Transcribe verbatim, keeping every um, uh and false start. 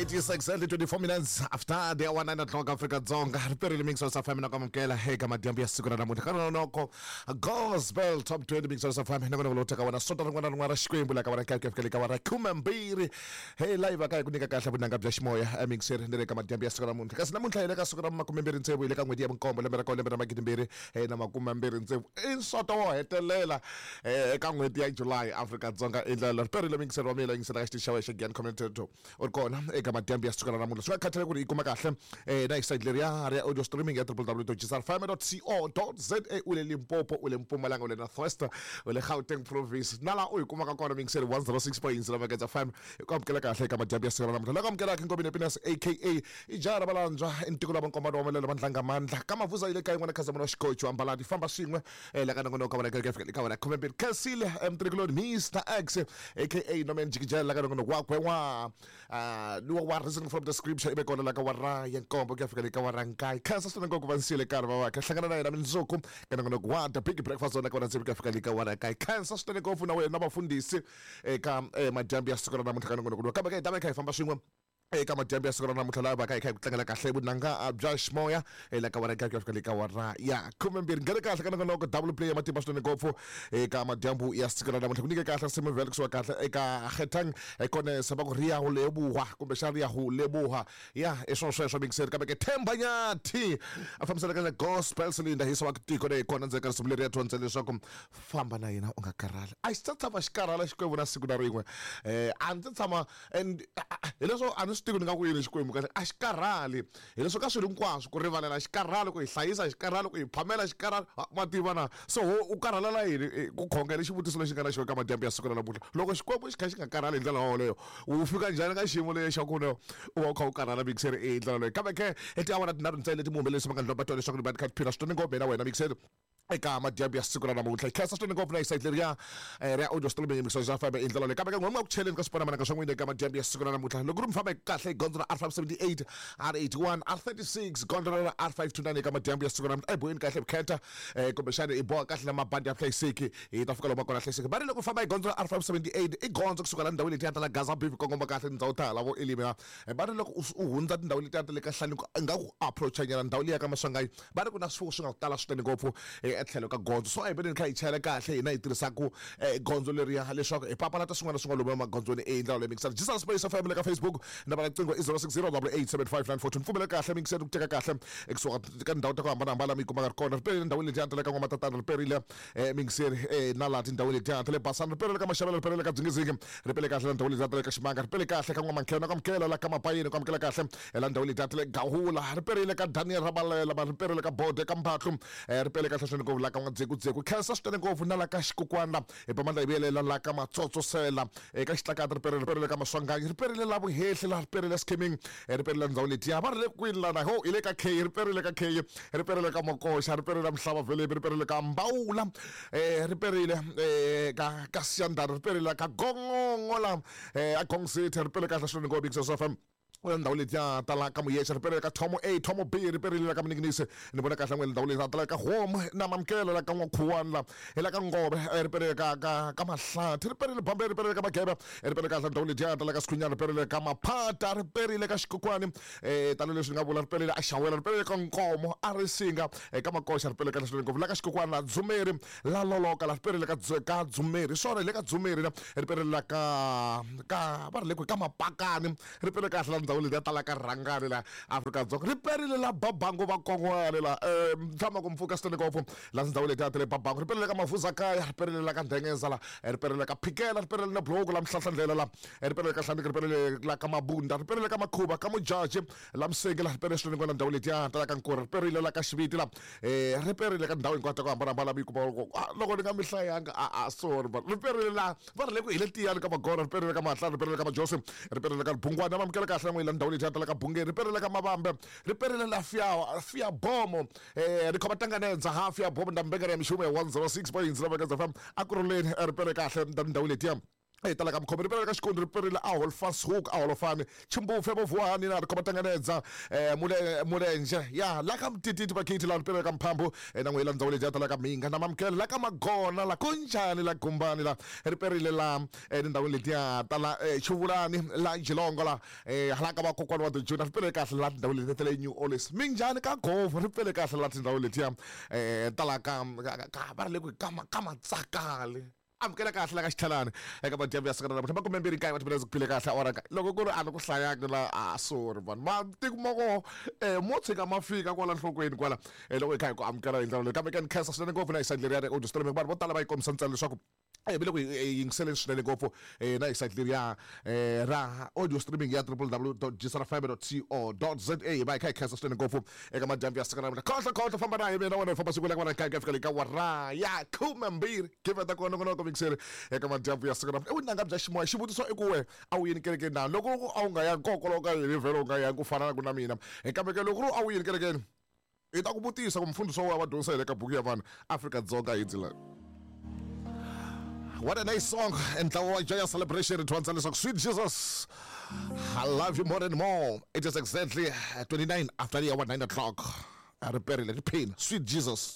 It is exactly twenty-four minutes after the hour nine o'clock Africa Dzonga. Riperile Mix of F M na kwamukela eka madyambu ya siku ra namuntlha. Ka nonoko Gospel Top twenty Mix of F M na vona teka wona sonto rin'wana na rin'wana ra Xikwembu la ka wona ka fika le ka wona khume mbirhi. Hey live ka ku nyika kahle vunanga bya ximoya mixer ni le ka madyambu ya siku ra namuntlha. Kasi namuntlha hi le ka siku ra makume mbirhi tsevu hi le ka n'hweti ya vunkombo lembe ra ka lembe ra magidi mbirhi na makume mbirhi tsevu. I nsoto wo hetelela eka n'hweti ya July Africa Dzonga i ndlela riperile mixer wa mina yingisela ka xitichi xa wena xa Giyani Community Radio. U ri kona eka madyambu ya siku ra namuntlha. Swi nga khathali ku ri yi kuma kahle na hi site leriya ri ya audio streaming ya w w w dot g s r f m dot co dot z a. U le Limpopo, u le Mpumalanga, u le North West, u le Gauteng province. Na laha u yi kumaka kona mixer one oh six point zero Mageza F M. Hi ku amukela kahle eka madyambu ya siku ra namuntlha. Loko amukelaka Nkomeni Happiness A K A Ijara Valandzwa i ntiko la vankombano wa malelo vandlanga mandla ka mavuza yi le kaya n'wana Khazamula wa Xikocho ambalani famba swin'we la ka nongonoko wa ka fika ka wena khume mbirhi. Khensile Mtrikuloni Mister X A K A Norman Jikijela la ka nongonoko wakwe wa uh wa reasoning from the scripture ibe kona la ka wara ya nkombo ku ya fika le ka wara nkaye. Khensa swinene ngopfu va nsiyele nkarhi va wakhe hlangana na yena mundzuku ka nongonoko wa The Big Breakfast Zone ka wona tsevu ku ya fika le ka wara nkaye. Khensa swinene ngopfu na wena vafundhisi eka madyambu ya siku ra namuntlha ka nongonoko lowu. Kambe ka hi ta va hi kha hi famba swin'we eka madyambu ya siku ra namuntlha laha va ka hi kha hi ku tlangela kahle vunanga bya ximoya la ka wara nkaye ku ya fika le ka wara ya khume mbirhi. Nghene kahle ka nongonoko double play ya matimba swinene ngopfu eka madyambu ya siku ra namuntlha. Ku nyike kahle risimu vhele kusuka kahle eka Kgethang Konesa va ku ri ya ho leboha kumbexana ri ya ho leboha ya i swona sweswo mixer. Kambe ke Themba Nyathi a fambisana ka gospel cylinder hi wa tiko leyi kona ndzeni ka risimu leri ya dyondza leswaku famba na yena u nga karhali. A xi ta tshama xi karhala Xikwembu na siku na rin'we. Eh a ndzi tshama and hileswo a ni swi tivi ni nga ku yini Xikwembu kahle a xi karhali. Hileswo ka swilo hinkwaswo ku rivalela xi karhali, ku hi hlayisa xi karhali, ku hi phamela xi karhali, ma tiva na. So u karhalela yini ku khongela xivutiso lexi nga na xona ka madyambu ya siku ra namuntlha. Loko Xikwembu xi kha xi nga karhali hi ndlela yoleyo u fika njhani ka xiyimo lexi xa ku u va u kha u karhala mixer hi ndlela leyo. Kambe ke i tiawara tinharhu ntsena leti muhumelerisi va nga ndlomba twa leswaku ni va ni kha ni phina swinene ngopfu na wena mixer eka madyambu ya siku ra namuntlha. Hi khensa swinene ngopfu na hi site leriya ri ya audio streaming Mix F M hi ndlela leyi. Kambe ke n'we ku cheleni ka swiponamananga swa n'wina eka madyambu ya siku ra namuntlha. Loko ri mi famba kahle hi gondzo ra R five seventy-eight, R eighty-one, R thirty-six, gondzo ra R five two nine eka madyambu ya siku ra namuntlha. Boheni kahle vukheta kumbexana i boha kahle na mabandi ya hlayiseki hi ta fika lomu kona hlayiseki. Va ri loko famba hi gondzo ra R five seventy-eight i gondzo kusuka la ndhawini letiya ta la Gaza Beef kongoma kahle tindhawu ta hala vo Elim. Va ri loko u hundza tindhawu letiya ta le ka Hlanikwa nga ku approach nyana ndhawu liya ka Maswanganyi va ri ku na swifuwo swi nga ku tala swinene ngopfu etlhelo ka gondzo. So a hi veneni kha hi chayela kahle hina hi tirhisaku gondzo leriya leswaku hi papalata swin'wana na swin'wana lomu emagondzweni i ndlela leyi mixer. Jesus Space F M le ka Facebook namba ya riqingho i zero six zero double eight seven five nine four two. Pfumela kahle mixer ku teka kahle ekusuka ka tindhawu ta ku hambanahambana mi kumaka ri kona. Riperile ndhawu letiya ta le ka N'wamatatana, riperile mixer na laha tindhawu letiya ta le Basani, riperile ka Maxavela, riperile ka Dzingizingi, ripele kahle la ndhawu letiya ta le ka Ximanga, ripele kahle ka N'wamankhena, ku amukela la ka Mapayeni, ku amukela kahle la ndhawu letiya ta le Gahula, riperile ka Daniel Rabalela, riperile ka Bode ka Mphatlu, ripele kahle swinene ngopfu la ka N'wadzekudzeko. Khensa swinene ngopfu na la ka Xikukwana hi pamandla hi vuyelela la ka Matsotsosela eka Xitlakati, riperile riperile ka Maswanganyi, riperile la Vuhehli la riperile Skimming, riperile ndhawu letiya va ri le kwini lana ho hi le ka K, riperile ka K, riperile ka Mokoxa, riperile Mhlava Velebi, riperile ka Mbawula, riperile ka ka Siyandhani, riperile ka Gongongo la a Gong City, ripele kahle swinene ngopfu Mix F M. Ndhawu letiya ta la ka Muyexe, riperile ka Thomo A, Thomo B, riperile ka Mninginisi. Ni vona kahle n'wini ndhawu letiya ta la ka Home na Mamkelo la ka N'wakhuwani la hi la ka Ngove, riperile ka ka ka Mahlathi, riperile Bambe, riperile ka Magebe, riperile kahle ndhawu letiya ta la ka Sikhunyana, riperile ka Maphata, riperile ka Xikokwani, eh tanihi leswi ni nga vula, riperile a Xawela, riperile ka Nkomo, a Risinga, eka Makoxa, riperile kahle swinene ngopfu la ka Xikokwani, la Dzumeri, la Loloka, la riperile ka ka Dzumeri, swona hi le ka Dzumeri la riperile la ka ka va ri le kwihi ka Mapakani, riperile kahle la ndhawu letiya ta la ka Rhangani la Afrika-Dzonga, riperile la Babangu va Kongwani la tshama ku mpfuka swinene ngopfu la ndhawu letiya ta le Babangu, riperile ka Mavuzakaya, riperile la ka Ndhengeza la, riperile ka Phikela, riperile na Bloku la Mhlahlandlela la, riperile ka Hlaniki, riperile la ka Mabunda, riperile ka Makhuva ka Mujaji la Msenge la, riperile swinene ngopfu la ndhawu letiya ta la ka Nkura, riperile la ka Xiviti la, riperile ka ndhawu hinkwato ku hambanahambana mi kuma loko ni nga mi hlayanga a a sorry but riperile la va ri le ku hi le Tiyani ka Magora, riperile ka Mahlana, riperile ka Majosi, riperile ka Bungwana, va amukela kahle n'wina ndhawu letiya ta la ka Bungeni, riperile ka Mavambe, riperile la Fia Fia Bomo, eh ri khoma tanganedza ha Fia Bomo nda mbengere ya mishumo ya one oh six point zero Mageza F M akuruleni, ripele kahle ndhawu letiya e tala ka mukhomi ri perile ka xikondi ri perile a holfanshoek a holofani chimbufe vovuwani na ri khoma tanganedza um mulenje ya la ka mtititi vakhithi la ri perile ka mphambu na n'we la ndzawulo leyi ya tala ka mhinga na mamukela la ka magona la kunjhani la gumbani la ri perile la etindhawini letiya tala xivulani la jilongo la hala ka vakokwani wa tijuna ri pele kahle la tindhawu leti ta le New Orleans minjhani ka govhu ri pele kahle la tindhawu letiya um tala ka ka va ri le ku ka ka matsakale amukela kahle la ka xitlhalani eka madyambu ya siku ra namuntlha makume mbirhi nkaye wa timinetse ku phile kahle awara nkaye loko ku ri a ni ku hlayangi la a sorry vanhu matiko ma koho um mo tshika ma fika kwala nhlokweni kwala um loko hi kha hi ku amukela hi ndlela leyi kambe ke ni khensa swinene ngopfu na hi side leriya audio streaming vanhu vo tala va yi kombisa ntsena leswaku e ve le ku yingiseleni swinene ngopfu um na hi site leriya um ra audio streaming ya triple w dot gsrfm dot co dot za hi va hi kha hi khensa swinene ngopfu eka madyambu ya siku ra namuntlha khohlo khohlo famba na hi mina wena hi famba siku la ka wena ka fika le ka wara ya khume mbirhi giveta kona nongonoko mixeri eka madyambu ya siku ra namuntlha i vunanga bya ximoya xivutiso i ku we a wu yini kerekeni na loko ku a wu nga yangi kokoloka ka yini vhele u nga yangi ku fana na ku na mina kambe ke loko ku ri a wu yini kerekeni hi ta ku vutisa ku mfundhisi wa wena va dyondzisa hi le ka buku ya vanhu Afrika-Dzonga hi dzila. What a nice song. And ntlawa wa Joyous Celebration ri leswaku Sweet Jesus, I love you more and more. It is exactly twenty-nine after the hour nine o'clock. Ri perile ri pain. Sweet Jesus.